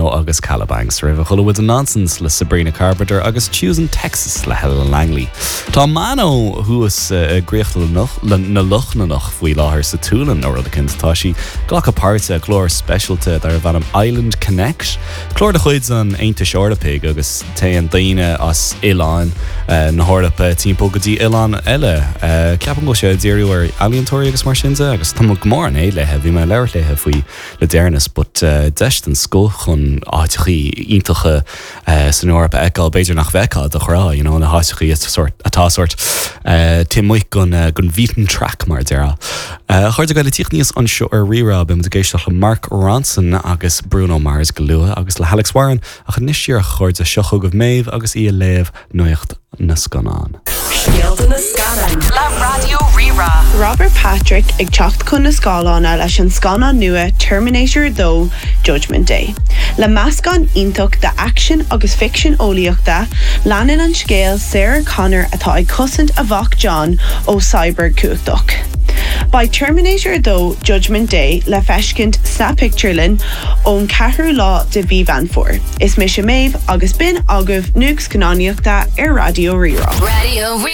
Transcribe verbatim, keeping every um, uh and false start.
Bono agus Kalabangs roimhe chuala muid Nonsense le Sabrina Carpenter agus Choosing Texas le Helen Langley. Tá Mano thuas i gCríoch na Lochlannach faoi láthair sa tSualainn nó rud éicint tá sí ag glacadh páirte i gclár speisialta darb ainm Island Connect. Clár de chuid an Aontais Eorpaigh agus téann daoine as oileáin eh, na hEorpa timpeall go dtí oileán eile. Eh, Ceapaim go sé díriú ar ealaíontóirí agus mar sin de agus tá go mór an éad léithe, bhí mé labhairt léithe faoi le deireanas, but uh, deis den scoth chun áiteachaí iontacha uh, san Eoraip a fheiceáil b'fhéidir nach bhfeicfeá de ghnáth, you know, na háiteachaí atá sort uh, taobh amuigh den uh, den beaten track mar a déarfá. Uh, Chuir go le tíocht níos anseo ar Rí-Rá beimid ag éisteacht le Mark Ronson agus Bruno Mars go luath agus le Alex Warren ach anois a chairde seo chugaibh Méabh agus í ag léamh nuacht na scannán. Scéalta na scannán Le Raidió Rí-Rá. Robert Patrick ag teacht chun na scáileán leis an scannán nua Terminator dó Judgment Day. Le meascán iontach de action agus ficsean eolaíochta, leanann an scéal Sarah Connor atá ag cosaint a mhac John ó cyborg cumhachtach. Beidh Terminator dó Judgment Day le feiscint sa pictiúrlann ón ceathrú lá de mhí Mheán Fómhair. Is mise Méabh agus b'in agaibh nuacht scannánaíochta ar Raidió Rí-Rá. Raidió Rí